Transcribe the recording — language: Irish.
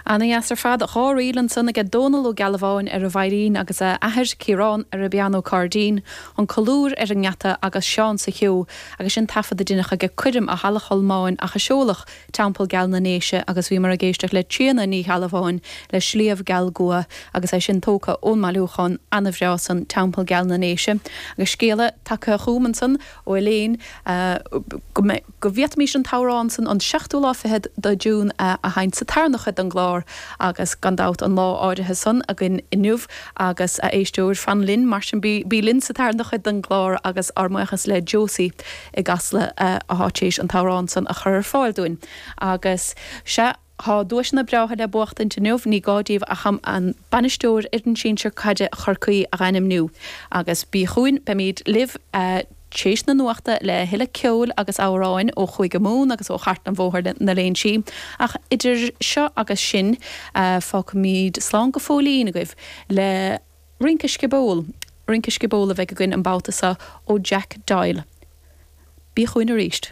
Ana dheas ar fad. 2 ríl ansan aige Dónal Ó Gealbháin ar an veidhlín agus a athair, Ciarán, ar an bpianó cairdín, An Colúr ar an ngeata agus Seán sa Cheo agus sin taifead a deineadh aige coirm i Halla Cholmáin, Achadh Seoigheach, Teampall Geal na nDéise agus bhíomar ag éisteacht le Tríona Ní Ghealbháin le Sliabh Geal gCua agus é sin tógtha ón mbailiúchán ana-bhreá san, Teampall Geal na nDéise. Agus scéala tagtha chugam ansan ó Elaine go mbeidh. go bhféadfaimis an t-amhrán san an seachtú lá fichead de June a sheinnt sa tarna chuid den gclár agus gan dabht an lá áirithe san againn inniu agus a éisteoir fan linn mar sin bí bí linn sa tarna chuid den gclár agus ár mbuíochas le Josie i gCasla atá tar éis an t-amhrán san a chur ar fáil dúinn agus sea Tá duaiseanna breátha le buachtaint inniu, ní gá daoibh ach an bainisteoir fhoireann sinsir caide Chorcaí a ainmniú. Agus bí chugainn, beimid libh tréis na nuachta le thuilleadh ceoil agus amhráin ó Chúige Mumhan agus ó Chartlann Bhóthar na Léinsí. Ach idir seo agus sin, fágfaimid slán go fóillín agaibh le Rince Sciobóil. Rince Sciobóil a bheidh againn an babhta seo ó Jack Doyle. Bí chugainn arís.